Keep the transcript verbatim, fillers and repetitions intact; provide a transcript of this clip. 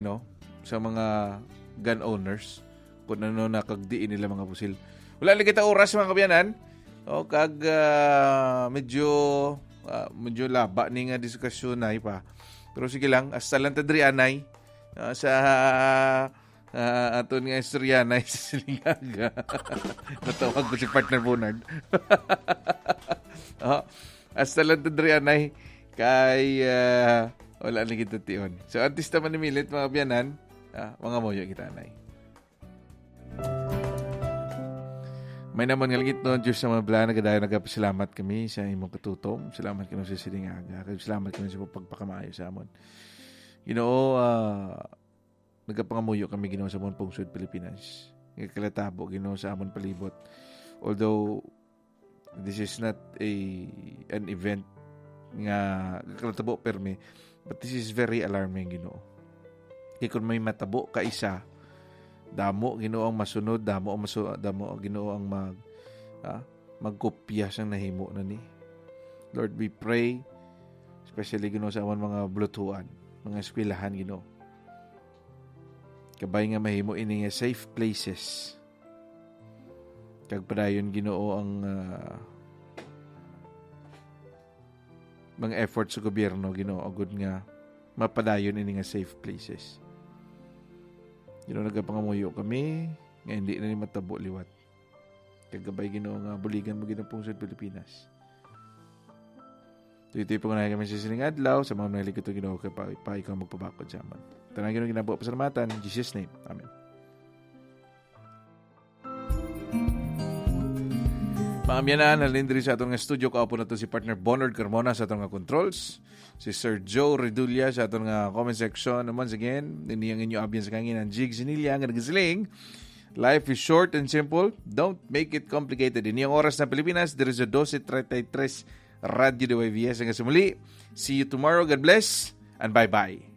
no, sa mga gun owners kung ano na kag diin nila mga pusil. Wala lang kita oras, mga kaabyanan. O, kag, ah, medyo, ah, medyo laba ni nga diskusyon na pa. Pero sige lang, hasta lang ta diri anay, ah, sa, ah, aton nga istorya na sa silingaga. Natawag ko si partner Bonard. Oh, hasta lang ta diri anay kay, ah, wala na kita tion. So, artista man ni Milit, mga kaabyanan, ah, mangamuyo kita anay. May naman nga langit, no, Diyos sa mga bala, nagadayon nagapasalamat kami sa imong katutom. Salamat kami sa silingaga. Kag salamat kami sa pagpakamaayo sa amon. Ginoo, ah, nagapangamuyo kami, Ginoo, sa amon pungsod Pilipinas. Nga kalatabo, Ginoo, sa amon palibot. Although this is not a an event nga kalatabo permi, but this is very alarming, Ginoo. Kay kung may matabo ka isa, damo, Ginoo, ang masunod, damo ang masu-, damo, Ginoo, ang mag, ah, magkopya sang nahimo na ni. Lord, we pray, especially, Ginoo, sa amon mga bulutuan, mga eskwelahan, Ginoo. Kabay nga mahimo ini nga safe places. Kag padayon, Ginoo, ang, ah, mga efforts sa gobyerno, Ginoo, agud nga mapadayon ini nga safe places. Ginoo, nagapangamuyo kami nga hindi na ni matabo liwat. Kag kabay, Ginoo, nga buligan mo, Ginoo, pungsod Pilipinas. Tuyo-tuyo pangunahan kami sa sining adlaw, sa mga manaligot, Ginoo, kay pa, pa ikaw magpabakod sa amon. Tanan, Ginoo, ginabo pasalamatan. In Jesus' name. Amen. Mga kaabyanan, halin diri sa aton nga studio, kaupo nato si partner Bonard Carmona sa aton nga controls, si Sir Joe Redulla sa aton nga comment section. And once again, ini ang inyo abyan sa kangin, ang Jig Sinilla, nga nagasiling, "Life is short and simple. Don't make it complicated." Ini ang oras sa Pilipinas, diri sa dose treinta y tres, Radyo D Y V S. Hanggang sa muli, see you tomorrow. God bless and bye-bye.